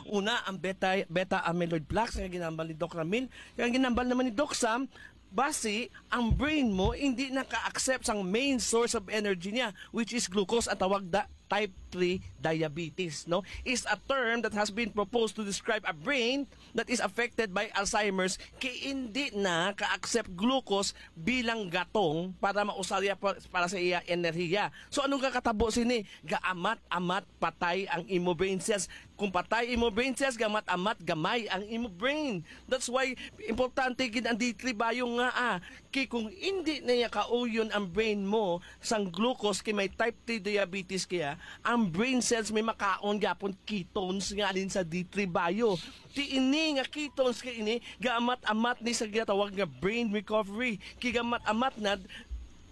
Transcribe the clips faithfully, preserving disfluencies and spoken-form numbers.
Una, ang beta, beta amyloid plaques nga ginambal ni Doc Ramil. Kaya ang ginambal naman ni Doc Sam, basi, ang brain mo hindi naka-accept sang main source of energy niya, which is glucose, ang tawag da type three diabetes, no? Is a term that has been proposed to describe a brain that is affected by Alzheimer's, kay hindi na ka-accept glucose bilang gatong para mausar niya pa, para sa iya enerhiya. So, anong kakatabo sini? Gaamat-amat patay ang imo brain cells. Kung patay imo brain cells, gaamat-amat gamay ang imo brain. That's why importante gid ang D three Bio nga, ah, kay kung hindi na niya kauyon ang brain mo sang glucose, kay may type three diabetes kaya, ang brain cells may makaon gyapon ketones nga alin sa D three Bio. Ti ini nga ketones kay ini gaamat-amat ni sa ginatawag nga brain recovery. Kay gaamat-amat na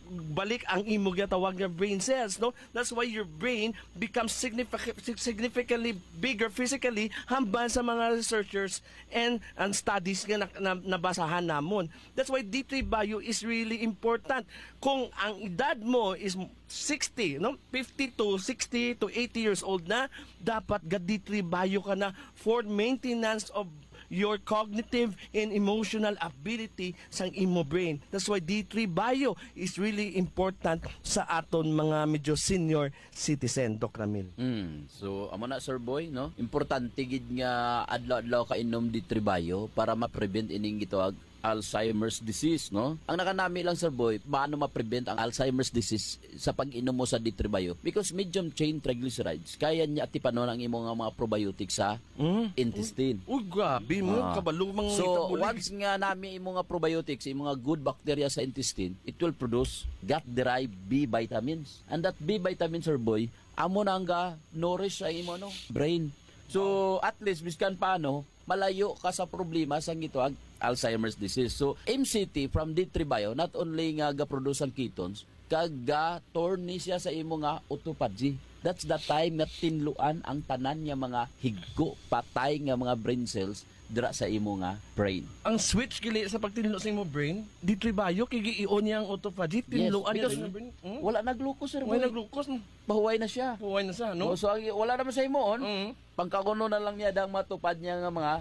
balik ang imo ginatawag nga brain cells, no? That's why your brain becomes signific- significantly bigger physically hambal sa mga researchers and ang studies nga na, na, nabasahan namon. That's why D three Bio is really important. Kung ang edad mo is sixty, no? Fifty to sixty to eighty years old na, dapat ga D three Bio ka na for maintenance of your cognitive and emotional ability sang imo brain. That's why D three Bio is really important sa aton mga medyo senior citizen, Doc Ramil. Mm. So, amo na, Sir Boy, no? Importante gid nga adlaw-adlaw ka inom D three Bio para ma-prevent ining gitawag Alzheimer's disease, no? Ang nakanami lang, Sir Boy, paano ma-prevent ang Alzheimer's disease sa pag-inom mo sa D three Bio? Because medium chain triglycerides, kaya niya atipanon ang imo nga mga probiotics sa Mm. intestine. Uy, grabe mo, Ah. kabalo mang So, itabulig. Once nga nami imo nga probiotics, imo nga good bacteria sa intestine, it will produce gut-derived B vitamins. And that B vitamins, Sir Boy, amo na ang ga-nourish sa imo, ano, brain. So, at least, biskan paano, malayo ka sa problema sa gitawag Alzheimer's disease. So, M C T from D three Bio, not only nga ga-produce ang ketones, kag ga-turn ni siya sa imo nga autophagy. That's the time nga tinluan ang tanan nga mga higko, patay nga mga brain cells dira sa imo nga brain. Ang switch kini sa pagtinlo sa imo brain, D three Bio, kay gi-on niya ang autophagy, Yes, tinluan niya because sa brain. Hmm? Wala na glucose, sir. Wala Boy. glucose, no? Pahuway na siya. Pahuway na siya, no? No? So, ang, wala naman sa imo, on? Mm. Pangkaguno na lang niya dang matupad niya nga mga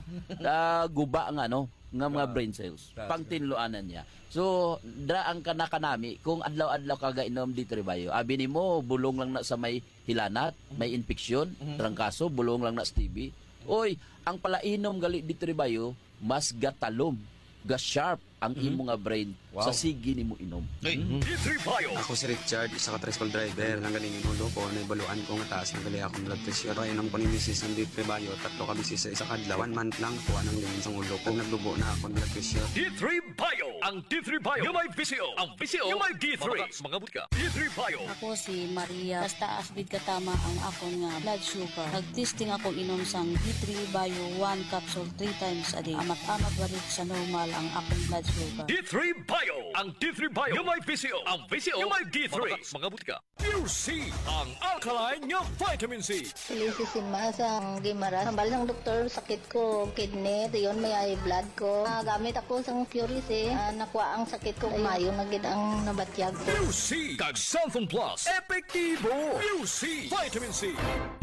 ah, guba nga, no, nga mga Ah, brain cells. that's Pangtinluanan niya. So, dra ang kanakanami, kung adlaw-adlaw ka gainom D three Bio, abi nimo, bulong lang na sa may hilanat, may infection, Mhm. trangkaso, bulong lang na sa T B. Oy, ang palainom gali D three Bio, mas gatalom, ga-sharp ang Mhm. imo nga brain Wow. sa sige nimo inom. D three Bio. Ako si Richard, isa ka tricycle driver. Nang galing yung ulo ko, naibaluan ko nga taas na gali akong blood pressure. Kaya nang paninisis ng D three Bio, tatlo ka bisis sa isa ka adlaw. One month lang, kuha nang linis ang ulo ko. Nagdugo na akong blood pressure. D three Bio. Ang D three Bio. Yung may visyo. Ang visyo. Yung may D three. Mga, mga butika. D three Bio. Ako si Maria. Basta asbid katama ang akon nga blood sugar. Nag-testing ako inom sang D three Bio one capsule three times a day. Amat-amat balik sa normal ang akong blood sugar. D three Bio. Ang D three Bio. Yung may visyo. Ang visyo. Yung may D three. Mga, mga butika. Pure C. Ang alkaline nga vitamin C. Felicity Masa ang Guimaras. Hambal ng doktor, sakit ko, kidney, dayon may high blood ko. Ah, gamit ako sang Pure C. Ah, nakuha ang sakit ko. Mayo na gid ang nabatyag ko. Pure C. Kag Santhon Plus. Epektibo. Pure C. Vitamin C.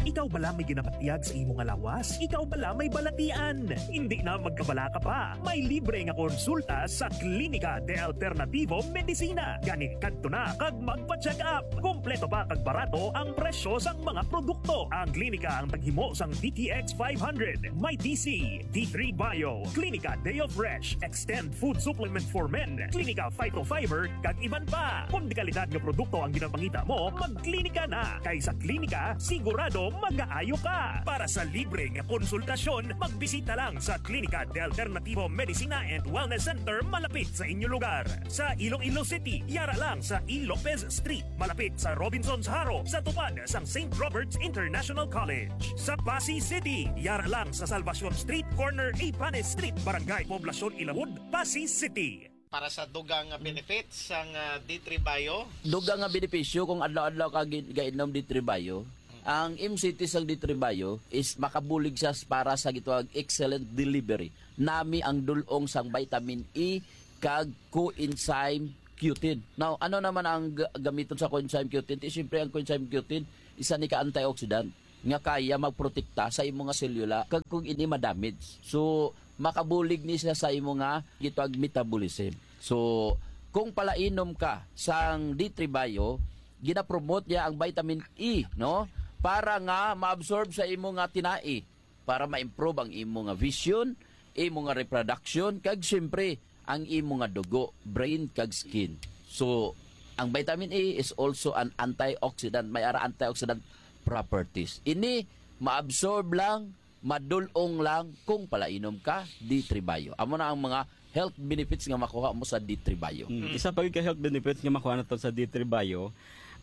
Ikaw bala may ginabatyag sa imo nga lawas? Ikaw bala may balatian? Hindi na magkabalaka pa. May libre nga konsulta sa Klinika de Alternativo Medicina. Gani kadto na kag magpa-check up. Kompleto pa kag barato ang presyo sang mga produkto. Ang klinika ang taghimo sang D T X five hundred, may D C, D three Bio, Klinika Deo Fresh, Extend Food Supplement for Men, Klinika Phytofiber, kag iban pa. Kung dekalidad nga produkto ang ginapangita mo, magklinika na. Kay sa klinika, sigurado magaayo ka. Para sa libre nga konsultasyon, magbisita lang sa Klinika de Alternativo Medicina and Wellness Center malapit sa inyo lugar. Sa Iloilo City, yara lang sa E. Lopez Street, malapit sa Robinson's Jaro, sa tupad sang Saint Robert's International College. Sa Passi City, yara lang sa Salvacion Street, corner Ibanes Street, Barangay Poblacion Ilawod, Passi City. Para sa dugang nga benefits sang ah, D three Bio. Dugang nga benepisyo kung adlaw-adlaw ka gi-, gainom D three Bio. Ang M C T sang D three Bio is makabulig siya para sa gitawag excellent delivery. Nami ang dulong sang vitamin E kag coenzyme Q ten. Now, ano naman ang g- gamiton sa coenzyme Q ten? Ti, siyempre, ang coenzyme Q ten, isa ni ka antioxidant. nga kaya magprotekta sa imo nga selula kag kung ini ma-damage. So, makabulig ni siya sa imo nga gitawag metabolism. So, kung palainom ka sang D three Bio, ginapromote niya ang vitamin E, no? Para nga ma-absorb sa imo nga tinai, para ma-improve ang imo nga vision, imo nga reproduction, kag siyempre, ang imo nga dugo, brain, kag skin. So, ang vitamin E is also an antioxidant, may ara antioxidant properties. Ini, maabsorb lang, madulong lang kung palainom ka D three Bio. Amo na ang mga health benefits nga makuha mo sa D three Bio. Mm. Isa pa gid ka health benefits nga makuha nato sa D three Bio,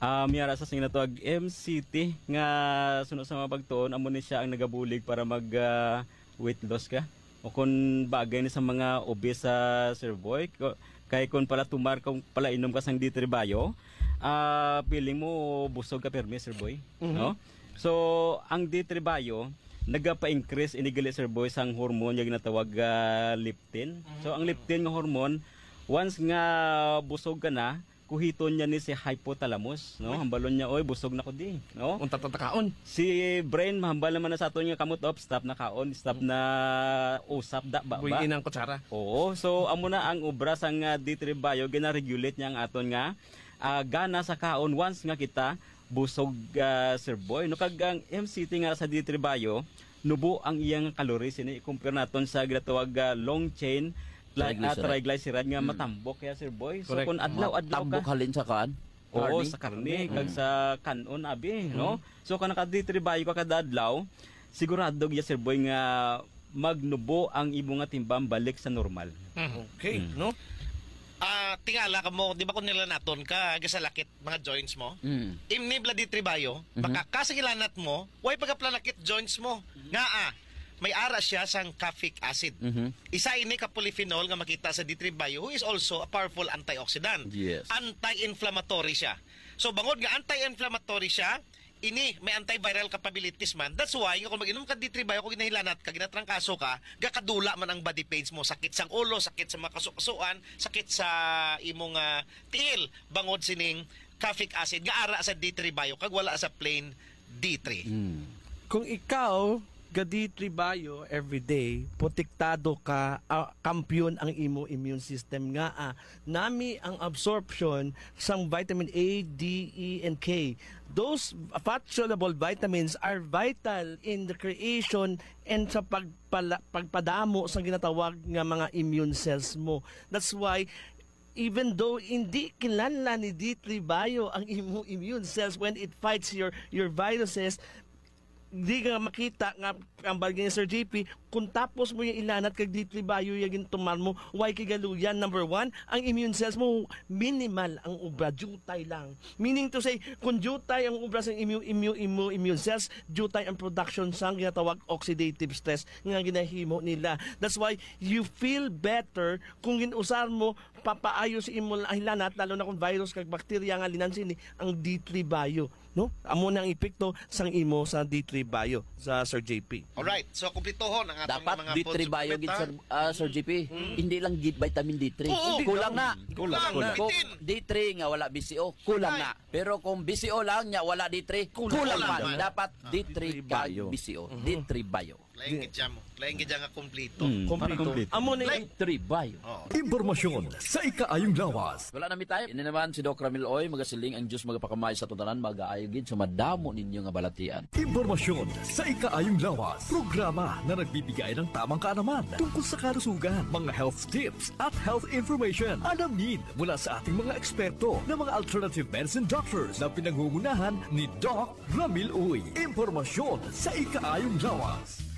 ah, may ara sa sing natawag M C T nga suno sa mga pagtuon, amo ni siya ang nagabulig para mag, ah, weight loss ka. O kung bagay ni sa mga obese, ah, Sir Boy, ko-, kay kung pala tumar, kung pala inom ka sang D three Bio, ah, feeling mo busog ka pirmi, Sir Boy, Mhm. no? So, ang D three Bio, nagapa-increase ini gali, Sir Boy, sang hormone nga ginatawag, ah, leptin. So, ang leptin nga hormone, once nga busog ka na, kuhiton niya ni si hypothalamus, no? Uy. Hambalon niya, "Oy, busog na ko di," no? Unta ta takaon. Si brain, mahambal naman na sa aton nga kamot, "Op, stop na kaon, stop na usap, da, ba, ba." Buy-i ng kutsara. Oo, so amo na ang obra sang, ah, D three Bio, gina-regulate niya ang aton nga, ah, gana sa kaon once nga kita busog, ah, Sir Boy, no? Kag ang M C T nga sa D three Bio, nubo ang iyang calories, ini i-compare naton sa ginatawag, ah, long chain, ah, Triglyceride. triglyceride nga Hmm. matambok ya, Sir Boy. So, Correct. kung adlaw-adlaw ka Matambok halin sa kan? Oo, Karne? sa karne, Mm. kag sa kanon, abi, no? Mm. So, kung naka-D three Bio ka kada adlaw, sigurado gid, Sir Boy, nga magnubo ang imo nga timbang balik sa normal. Mm. Okay, Mm. no? Ah, tingala ka mo, di ba kung nilanaton ka, gasalakit mga joints mo? Mm. Imni bala D three Bio, Mhm. baka ka sa gilanat mo, way pagkaplanakit joints mo. Mhm. Nga, ah, may ara siya sang caffeic acid. Mhm. Isa ini ka polyphenol nga makita sa D three Bio, who is also a powerful antioxidant. Yes. Anti-inflammatory siya. So, bangod nga anti-inflammatory siya, ini may antiviral capabilities man. That's why, nga kung mag-inom ka D three Bio, kung ginahilanat ka, ginatrangkaso ka, gakadula man ang body pains mo, sakit sang ulo, sakit sa mga kasukasuan, sakit sa imong, ah, tiil, bangod sining caffeic acid nga ara sa D three Bio kag wala sa plain D three. Mm. Kung ikaw ga D three Bio everyday, protektado ka, ah, kampiyon ang imo immune system nga, ah, nami ang absorption sang vitamin A, D, E, and K. Those fat-soluble vitamins are vital in the creation and sa pagpala-, pagpadamo sa ginatawag nga mga immune cells mo. That's why, even though hindi kinahanglan ni D three Bio ang imo immune cells when it fights your, your viruses, di nga makita nga ang bagay ni Sir J P, kung tapos mo yung ilanat kag D three Bio yung gintumar mo, why kay galuyan? Number one, ang immune cells mo, minimal ang obra, diutay lang. Meaning to say, kung diutay ang obra sa immune, immune, immune, immune cells, diutay ang production sang ginatawag oxidative stress nga ginahimo nila. That's why you feel better kung ginusar mo papaayo sa imo hilanat, lalo na kung virus kag bakterya nga linan sini ang D three Bio, no? Amo na ang epekto sang imo sa D three Bio, sa Sir J P. Alright, so kumpletohon ang atong Dapat mga D three food Bio supplement, gid, ha? Sir, ah, Sir J P. Mm. Hindi lang gid vitamin D three. Oo. Kulang na. Kulang, Kulang. kulang. Kung Bitin. D three nga wala B C O, kulang Ay. na. Pero kung B C O lang nya wala D three, Kulang. kulang Kulang man. man. Dapat Ah. D three D three kag Bio. B C O. Mhm. D three Bio. Lain Di- gid siya mo. Lain gid siya nga kompleto. Mm, Kompleto. para kompleto. Amo na Like, D three Bio. Oh. Impormasyon sa ikaayong lawas. Wala na mi time. Ini naman si Doc Ramil Oy, magasiling ang Diyos magapakamay sa tanan, magaayo gid sa madamo ninyo nga balatian. Impormasyon sa ikaayong lawas. Programa na nagbibigay ng tamang kaalaman tungkol sa kalusugan, mga health tips at health information. Alamin mula sa ating mga eksperto na mga alternative medicine doctors na pinangungunahan ni Doc Ramil Uy. Impormasyon sa ikaayong lawas.